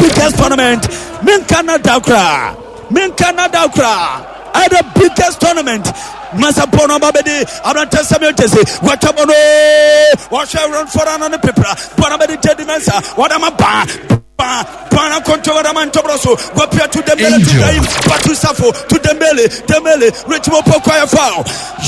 biggest tournament. Menka na da koraa, menka na da koraa. Ɛyɛ the biggest tournament. Masa bɔ no aba bɛdi aberantɛ Samuel Jesse wɔatwa bɔ no wɔhwɛ Ranford ano ne pepra bɔ no bɛdi Jedi Mensa wɔde ma baa baa baa na kɔntɔ wɔde ma ntɔbrɔ so wɔpia to Dembele to Ibrahim Batu Safo to Dembele Dembele Richmond Poku ayɛ foul.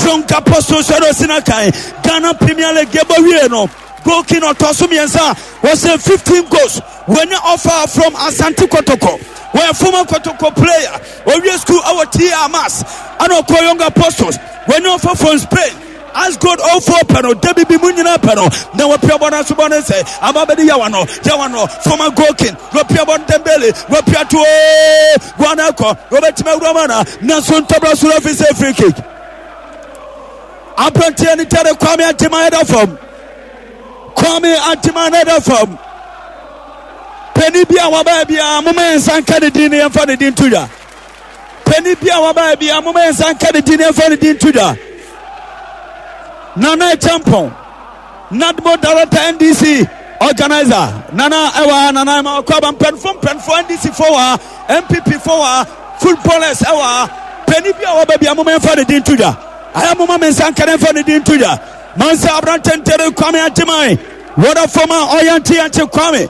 Young Apostles ɛna ɔsi n'akan Ghana Premier League yɛbɔ wie no goal king ɔtɔ so mmiɛnsa wɔsɛ 15 goals. Wɔanya offer from Asante Kotoko. Wɔyɛ former Kotoko player. Owie school ɛwɔ TR Mass. Ɛna ɔkɔ Young Apostles. Wɔanya offer from Spain. Asgold 04 pɛ no, dabi bi mu nyinaa pɛ no. Na wɔpia bɔ no aso bɔ no sɛ ama bɛde yawa no, yawa no, former goal king. Wɔpia bɔ no Dembele, wɔpia to o, wɔn akɔ, wɔbɛtumi awura mu ana, nanso ntɔbra so referee sɛ free kick. Aberanteɛ no gyare Kwame Agyeman ɛda fam. Kwame Agyeman no ɛda fam. Panin bi a wabaa biara, momma yɛn nsa nka ne din na yɛmfa ne din nto dwa. Panin bi a wabaa biara, momma yɛn nsa nka ne din na yɛmfa ne din nto dwa. Nana Champon, NADMO Director NDC Organizer, Nana ɛwɔ ha, Nana ɛma ɔkɔ aba mpanyinfoɔ mpanyinfoɔ NDC foɔ wɔ ha, NPP foɔ wɔ ha, footballers ɛwɔ ha. Panin bi a waba biara, momma yɛmfa ne din nto dwa. Ayɛ momma me nsa nka na yɛmfa ne din nto dwa. Mansa aberante ntere Kwame Agyeman. Wɔda fam a ɔyanteyankye Kwame.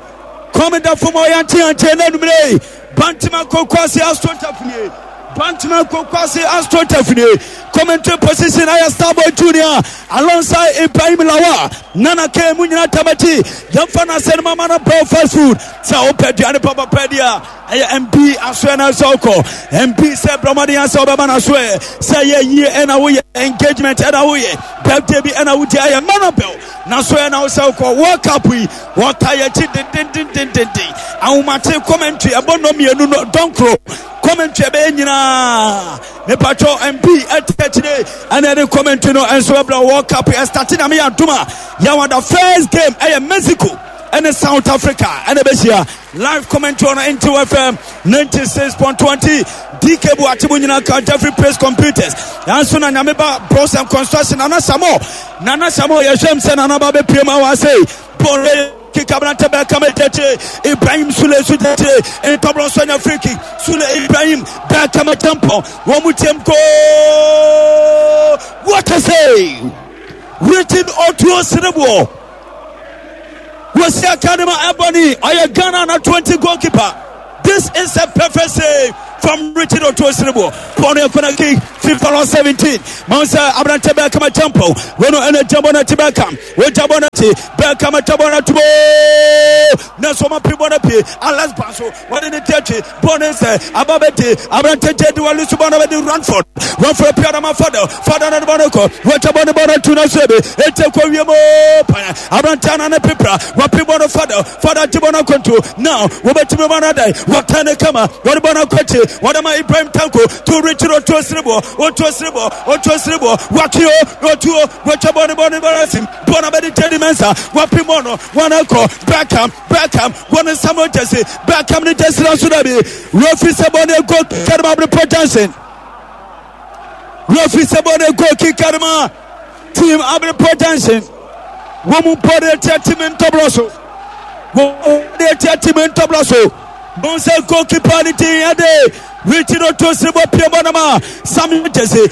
Kwame da fam a ɔyanteyankye na anumere yi. Bantama Kokwase Astro Tafnie. Bantama Kokwase Astro Tafnie. Commentary position ayɛ Starboy Junior alongside Ibrahim Lawa. Nana K mu nyinaa tamakyi. Yɛmfa no asɛn mama no Bell Fast Food. Sɛ wopɛ aduane papapa di a ɛyɛ MB asoɛ na sɛ wokɔ MB sɛ brɔmɔden asɛ wobɛma no asoɛ sɛ yɛ yie ɛna woyɛ engagement ɛna woyɛ birthday bi ɛna wodi ayɛ mana bell na so ɛna wosɛ wokɔ World Cup yi wɔta yɛkyi dendendendenden ahomakye commentary ɛbɔ nnɔ mmienu no dɔnkoro commentary ɛbɛyɛ nyinaa mepatwɔ MB ɛte akyire ɛna ɛde commentary no ɛnso ɛbrɛ World Cup ɛstate nyame yɛ adom a yɛwɔ the first game ɛyɛ Mexico ɛne South Africa ɛna ɛbɛhyia. Live commentary on Ntiw FM 96.20. DK Buakye mu nyinaa ka Jeffrey Praise Computers. Nanso na Nyame ba Bros and Construction Nana Samo. Nana Samo yɛhwɛm sɛ Nana ba bɛpie mu awɔ ase. Bɔre kika aberante bɛka ma gyakye Ibrahim Sule so gyakye ntɔbrɔ nso anya free kick Sule Ibrahim bɛka ma gyampɔn wɔn mu tiam goal. What a save! Written Otuo Sereboɔ. Wɔsi aka no ma Ebony, ɔyɛ Ghana na 20 goalkeeper. This is a perfect save from Richard Otuo Siribo. Bɔɔl no yɛ corner kick, FIFA law 17. Mahu sɛ aberante bɛɛ kama jampo. Wɔn no ɛna gyabɔ no akyi bɛɛ kam. Wɔgya bɔɔl no akyi bɛɛ kama gyabɔ no atubo. Nanso wɔn apere bɔɔl no apue. Alex Banso wɔde ne ti akyi bɔɔl no sɛ aba bɛdi aberante gye di wɔle so bɔɔl no bɛdi Ranford. Ranford pia no ma Fadel. Fadel no de bɔɔl no kɔ. Wɔgya bɔɔl no bɔɔl no atu no so ebi. Ete kɔ wiem o pan. Aberante ana ne pepra. Wɔpe bɔɔl no Fadel. Fadel gye bɔɔl no akɔntu. Now wɔbɛtumi bɔɔl no adan. Wɔtan ne kama. Wɔde bɔɔl no akɔ akyi. Wɔde ma Ibrahim Tanko to Richard Otuo Siriboɔ. Otuo Siriboɔ. Otuo Siriboɔ. Wɔatwe o. Otuo. Wɔatwa bɔɔl no bɔɔl no bɔɔl asim. Bɔɔl no abɛdi Teddy Mensah. Wɔpe bɔɔl no. Wɔn akɔ. Beckham. Beckham. Wɔn ne Samuel Jesse. Beckham ne Jesse na so dabi. Referee sɛ bɔɔl no ego Karima Abrepɔ Johnson. Referee sɛ bɔɔl no ego ki Karima team Abrepɔ Johnson. Wɔn mu bɔɔl no atia team ntɔbrɔ so. Wɔn de atia team ntɔbrɔ so. Wɔn sɛ goalkeeper ne din ɛde Richard Otosi bɔ pie bɔ no ma Samuel Jesse.